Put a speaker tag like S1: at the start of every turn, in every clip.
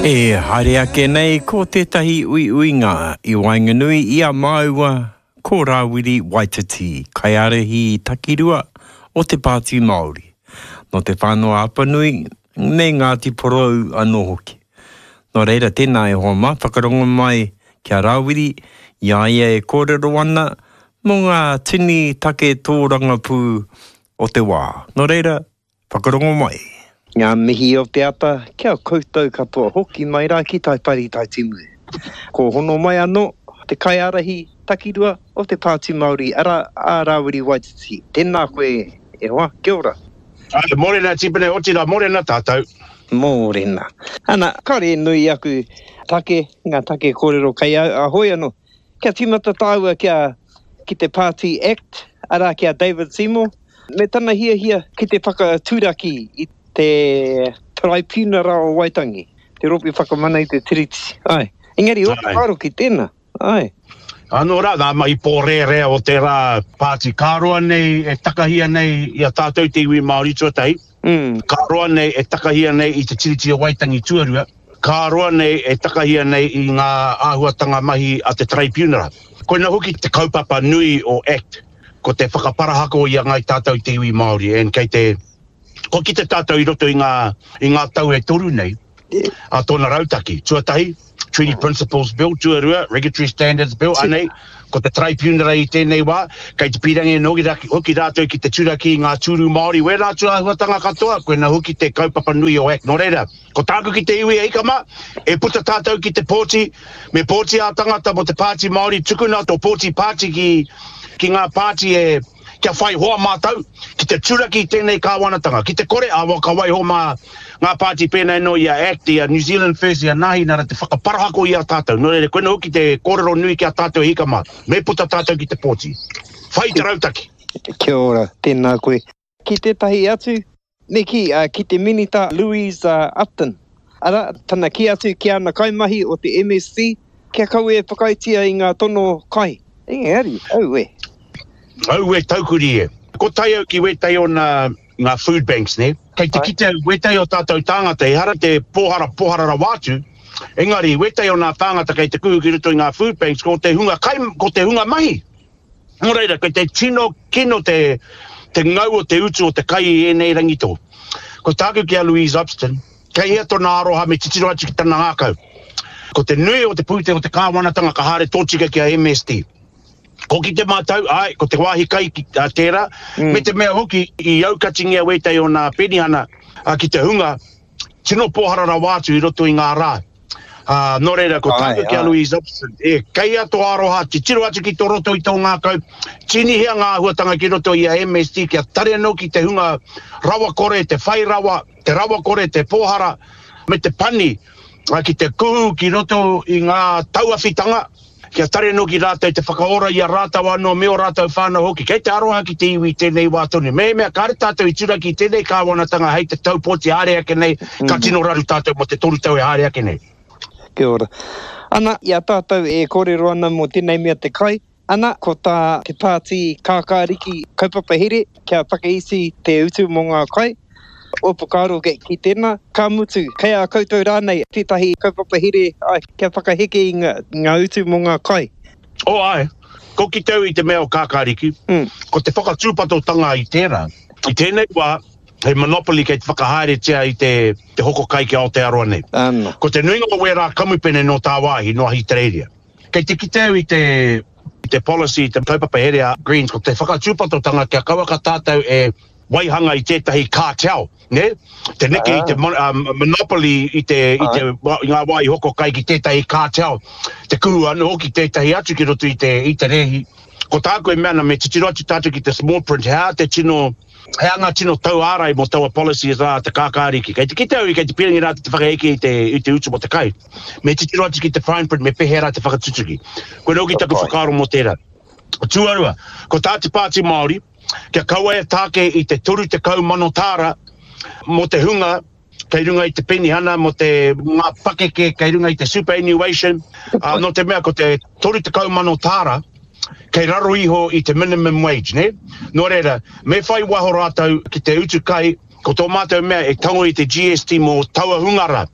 S1: E haere ake nei ko tētahi uiuinga i waenganui i a māua ko Rāwiri Waititi, kaiārahi takirua o Te Pāti Māori, nō Te Whānau-a-Apanui me Ngāti Porou anō hoki. Nō reira, tēnā e hoa mā, whakarongo mai ki a Rāwiri i a ia e kōrero ana mō ngā tini take tōrangapū o te wā. Nō reira, whakarongo mai. Ngā mihi o te ata ki a koutou katoa hoki mai rā ki Taipari Taitimu. Ko hono mai anō te kaiārahi takirua o te Pāti Māori, arā, a Rāwiri Waititi. Tēnā koe e hoa, kia ora.
S2: Āe, mōrena Tipene, otirā mōrena tātou.
S1: Mōrena. Ana, kāore e nui aku take, ngā take kōrero kei au, a hoi anō. Kia tīmata tāua kia, ki te Pāti Act, arā ki a David Seymour, me tana hiahia ki te whakaturaki i te Taraipiunara o Waitangi, te Rōpū Whakamana i te Tiriti. Āe. Engari, ō whakaaro ki tēnā. Āe.
S2: Anō rā, ngā mahi pōrērea o tērā pāti ka roa nei e takahia nei i a tātou te iwi Māori tuatahi, ka roa nei e takahia nei i te Tiriti o Waitangi tuarua, ka roa nei e takahia nei i ngā āhuatanga mahi a te Taraipiunara. Koina hoki te kaupapa nui o act, ko te whakaparahako i a ngāi tātou te iwi Māori and kei te, kua kite tātou i roto i ngā, i ngā tau e toru nei, a tōna rautaki. Tuatahi, Treaty Principles Bill, tuarua, Regulatory Standards Bill, anei, ko te Taraipiunara i tēnei wā, kei te pīrangi anō hoki rātou ki te turaki i ngā tūru Māori, wērā atu āhuatanga katoa, koina hoki te kaupapa nui o Act. Nō reira, ko tāku ki te iwi e hika mā, e puta tātou ki te pōti, me pōti ā-tangata mō te Pāti Māori, tukuna tō pōti pāti ki, ki ngā pāti e, kia whai hoa mātou ki te turaki i tēnei kāwanatanga, ki te kore, ā, ka waiho mā ngā pāti pēnei anō i a act, i a New Zealand First, i a Nāhinara te whakaparahako i a tātou. Nō reira, koina hoki te kōrero nui ki a tātou e hika mā, me puta tātou ki te pōti. Whai te rautaki.
S1: Kia ora, tēnā koe. Ki tētahi atu, Me kī, ki te Minita Louise Upton, arā, tana kī atu ki ana kaimahi o te MSC kia kaua e whakaaetia i ngā tono kai. Engari, aue.
S2: Aue taukuri e. Ko tae au ki wētahi o nā ngā food banks, nē. Kei te kite au wētahi o tātou tāngata, ehara te pōhara pōhara rawa atu, engari wētahi o nā tāngata kei te kuhu ki roto i ngā food banks, ko te hunga kai, ko te hunga mahi. Nō reira, kei te tino kino te, te ngau o te utu o te kai i ēnei rangi tō. Ko tāku ki a Louise Upston, kei hea tōna aroha me titiro atu ki tana ngākau. Ko te nui o te pūtea o te kāwanatanga ka haere tōtika ki a MSD. Ko ki te mātau, āe, ko te wāhi kai ki, a, tērā, mm. me te mea hoki i aukatingia wētahi o nā penihana a, ki te hunga tino pōhara rawa atu i roto i ngā rā. Ā, nō reira, ko tāku ki a Louise Upston, e, kei a tō aroha, titiro atu ki tō roto i tō ngākau, tīnihia ngā āhuatanga ki roto i a MSD kia tare anō ki te hunga rawakore, te whai rawa, te rawakore, te pōhara, me te pani, ā, ki te kuhu ki roto i ngā tauawhitanga, kia tare anō ki rātou te whakaora i a rātou anō me ō rātou whānau hoki. Kei te aroha ki te iwi i tēnei wā tonu. Mehemea kāre tātou i turaki i tēnei kāwanatanga hei te tau pōti haere ake nei, ka tino raru tātou mō te toru tau e haere ake nei.
S1: Kia ora. Ana, i a tātou e kōrero ana mō tēnei mea te kai, ana, ko tā te Pāti Kākāriki kaupapa here kia whakaiti te utu mō ngā kai, Ō whakaaro ki tēnā, ka mutu, kei a koutou rānei tētahi kaupapa here kia whakaheke i ngā utu mō ngā kai?
S2: Oh āe, ko ki te au i te mea o Kākāriki, ko te whakatūpatotanga i tērā. I tēnei wā, he monopoly kei te whakahaeretia i te hoko kai ki Aotearoa nei. Ko te nuinga o wērā kamupene nō tāwāhi, nō Ahitereiria. Kei te kite au i te te policy, te kaupapa here a Greens, ko te whakatūpatotanga kia kauaka tātou e waihanga i tētahi cartel, nē? Te neke i te monopoly i te, i te, i ngā wāhi hoko kai ki tētahi cartel, te kuhu anō hoki tētahi atu ki roto i te, i te rēhi. Ko tāku e mea ana, me titiro atu tātou ki te small print, he aha te tino, he aha ngā tino tauārai mō taua policy rā te kākāriki. Kei te kite au i kei te pīrangi rātou te whakaheke i te, i te utu mō te kai. Me titiro atu ki te fine print, me pēhea rā te whakatutuki. Koinā hoki taku whakaaro mō tērā. Tuarua, ko tā te Pāti Māori, kia kaua e tāke i te 30,000 tāra mō te hunga kei runga i te penihana, mō te ngā pakeke kei runga i te superannuation, ā, nō te mea ko te 30,000 tāra kei raro iho i te minimum wage, nē? Nō reira, me whai waho rātou ki te utu kai, ko tō mātou mea e tango i te GST mō taua hunga rā.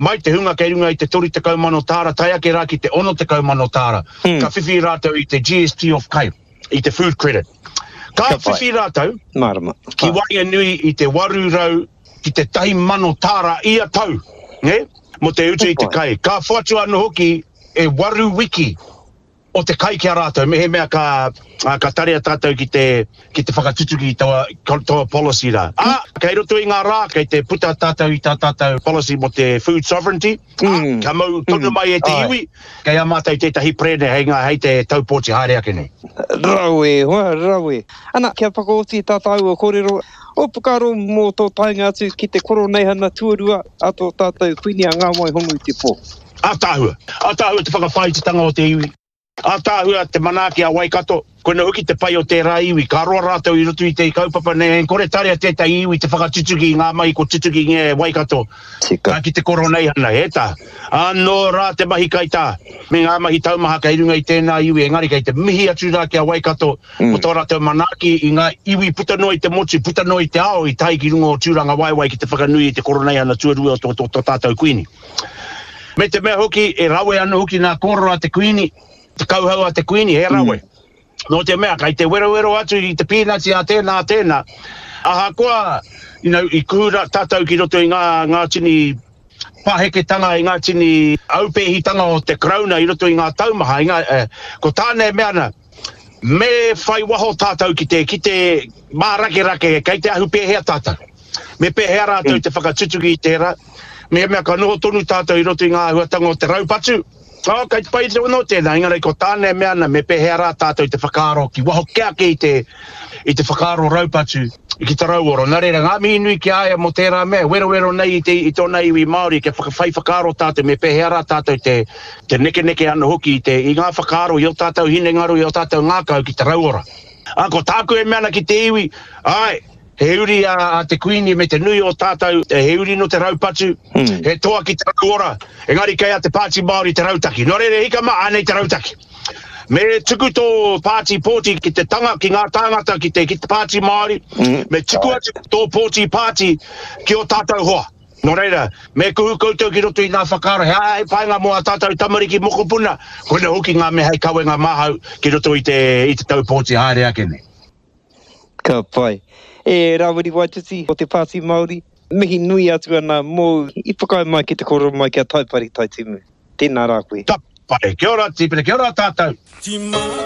S2: Mai te hunga kei runga i te 30,000 tāra tae ake rā ki te 60,000 tāra, ka whiwhi rātou i te GST off kai, i te food credit. Ka whiwhi rātou ki waenganui i te 800 ki te 1,000 tāra ia tau, nē, mō te utu i te kai. Ka whoatu anō hoki e waru wiki o te kai ki a rātou, mehemea ka, ka tarea tātou ki te, ki te whakatutuki i taua, taua policy rā. Ā, kei roto i ngā rā, kei te puta tātou i tā tātou policy mō te food sovereignty, ā, kia mau tonu mai e te iwi, kei a mātou tētahi perene hei ngā, hei te tau pōti haere ake nei.
S1: Rawe e hoa, rawe. Ana, kia whakaoti tā tāua kōrero, ō whakaaro mō tō taenga atu ki te Koroneihana tuarua a tō tātou Kuini a Ngāwai Hongu i te pō.
S2: Ātaahua. Ātaahua te whakawhāititanga o te iwi. Ātaahua te manaaki a Waikato. Koina hoki te pai o tērā iwi. Ka roa rātou i roto i te kaupapa nei, e kore tarea tētahi iwi te whakatutuki i ngā mahi kua tutukingia e Waikato Tika. ki te Koroneihana. E tā. Anō rā te mahi kaitā me ngā mahi taumaha kei runga i tēnā iwi, engari kei te mihi atu rā ki a Waikato mō tō rātou manaaki i ngā iwi puta noa i te motu, puta noa i te ao i tae ki runga o Tūrangawaewae ki te whakanui i te Koroneihana tuarua o tō tātou Kuini. Me te mea hoki, e rawe ana hoki ngā kōrero a te Kuini, te kauhau a te Kuini, he rawe. Mm. Nō te mea, kei te werowero atu i te pīnati a tēnā, a tēnā. Ahakoa, you know, i kuhu tātou ki roto i ngā, ngā tini paheketanga, i ngā tini aupēhitanga o te Karauna i roto i ngā taumaha, i ngā, eh, ko tāna e mea ana, me whai waho tātou ki te, ki te mārakerake, kei te ahu pēhea tātou. Me pēhea rātou mm. te whakatutuki i tērā? Mehemea ka noho tonu tātou i roto i ngā āhuatanga o te raupatu, oh, kei te pai te ono tēnā, engari ko tāna e mea ana, me pēhea rā tātou te whakaaro ki waho kē ake i te, i te whakaaro raupatu ki te rauoro. Nā reira, ngā mihi nui ki a ia mō tērā mea, werowero nei i, te, i tōna iwi Māori, kia whakawhai whakaaro tātou, me pēhea rā tātou te, te nekeneke anō hoki i, te, i ngā whakaaro, i ō tātou hinengaro, i ō tātou ngākau ki te rauora. Ā, ko tāku e mea ana ki te iwi, āe, He uri a te Kuini me te nui o tātou, he uri nō te raupatu, he toa ki te rauora, engari kei a te Pāti Māori te rautaki. Nō reira, hika mā, ānei te rautaki. Me tuku tō pāti pōti ki te tanga, ki ngā tāngata, ki te, ki te Pāti Māori, me tuku atu tō pōti pāti ki ō tātou hoa. Nō reira, me kuhu koutou ki roto i ngā whakaaro, he aha hei painga mō ā tātou tamariki mokopuna, koina hoki ngā mea hei kawenga māhau ki roto i te, i te tau pōti haere ake nei.
S1: Ka pai. E Rawiri Waititi o te Pāti Māori, mihi nui atu ana mōu i whakaae mai ki te kōrero mai ki a Taipari Taitimu. Tēnā rā koe.
S2: Ka pai. Kia ora Tipene, kia ora tātou.